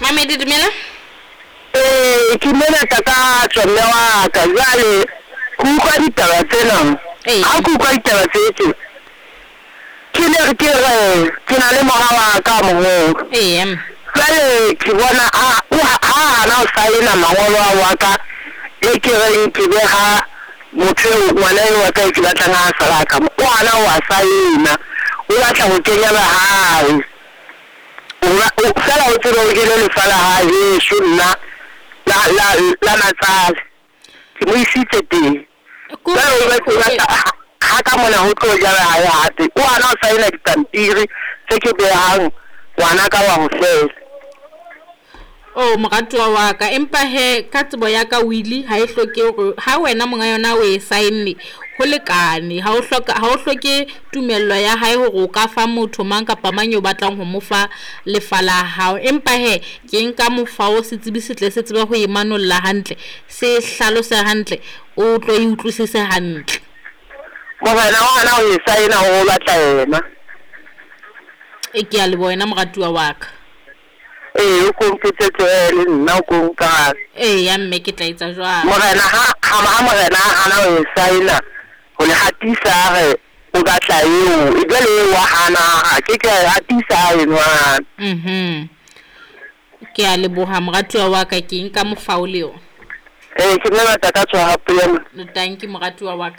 Mamedi dumela. Ee, ke mona Takatso mme wa ka. Jwale ke utlwa ditaba tsena. Ee. Ha ke utlwa ditaba tse tje, ke ne ke re ke na le mora wa ka moholo. Eya mme. Jwale ke bona a o ha hana ho saena mangolo ao wa ka e ke reng ke beha motho eo ngwana eo wa ka e ke batlang a sala ka mo. O hana ho a saena. O batla ho kenya ba hae. Fela o tsebe o jele lefa la hae heso nna la la la matsale. Ke mo isitse teng. Jwale o batla ha ka mona ho tlo jala hae hape. O hana ho saena dipampiri tse ke behang ngwana ka wa ho fela. Oh moratuwa wa ka, empa he ka tsebo ya ka wili ha e hloke hore ha wena monga yona o e saenne ho lekane. Ha o hloka, ha o hloke tumello ya hae hore o ka fa motho mang kapa mang eo batlang ho mo fa lefa la hao. Empa he ke nka mofa o setsebi se tle se tsebe ho e manolla hantle, se hlalose hantle, o tlo e utlwisise hantle. Morena o hana ho e saena hore o batla yena. E ke a leboha wena moratuwa wa ka. Ee, o ko mpotse le nna o ko nkarabe. Eya mme ke tla etsa jwalo. Morena ha ha morena a hana ho e saena ho le hatisa a re o batla eo, e jwale eo wa hana a ke ke a hatisa eno a hana. Ke a leboha moratuwa wa ka, ke nka mofao le yona. Ee, ke nna Takatso hape ya. Tanki moratuwa wa ka.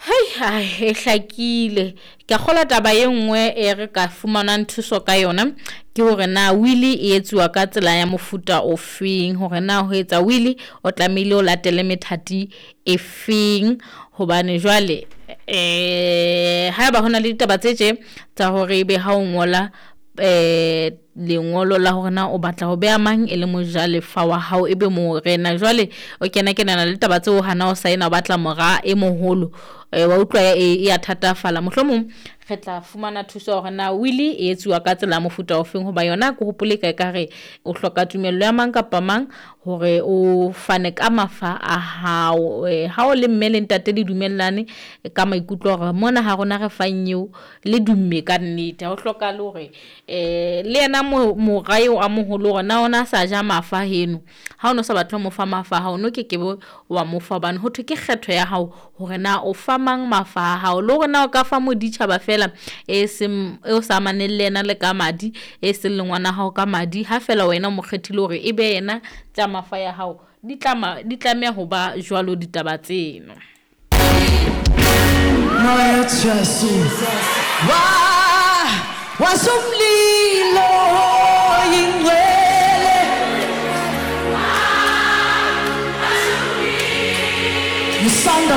Hei, ai, e hlakile. Ke a kgolwa taba e nngwe e re ka fumanang thuso ka yona ke hore na wili e etsuwa ka tsela ya mofuta o feng, hore na ho etsa wili o tlamehile o latele methati e feng, hobane jwale haeba hona le ditaba tse tje tsa hore ebe ha o ngola lengolo la hore na o batla ho beha mang e le mojalefa wa hao ebe morena, jwale o kena kenana le taba tseo hana o saena o batla mora e moholo, wa utlwa e ya thatafala. Mohlomong re tla fumana thuso hore na wili e etsuwa ka tsela ya mofuta o feng, hoba yona ke hopole ka ekare o hloka tumello ya mang kapa mang hore o fane ka mafa a hao. Ha o le mme le ntate le dumellane ka maikutlo hore mona ha rona re fang eo le dumme ka nnete, ha o hlokahale hore le yena mora eo a moholo hore na ona a sa ja mafa heno, ha o no sa batle ho mo fa mafa ha o no kekebe wa mo fa, hobane ho thwe ke kgetho ya hao hore na o fa mang mafa a hao, le hore na o ka fa moditjhaba fela e seng e o sa amaneng le yena le ka madi, e seng le ngwana hao ka madi, ha fela wena o mo kgethile hore e be yena tsa mafa ya hao, di tlameha ho ba jwalo ditaba tseno. Moya Jesu wa wasumlilo ingcwele you sound.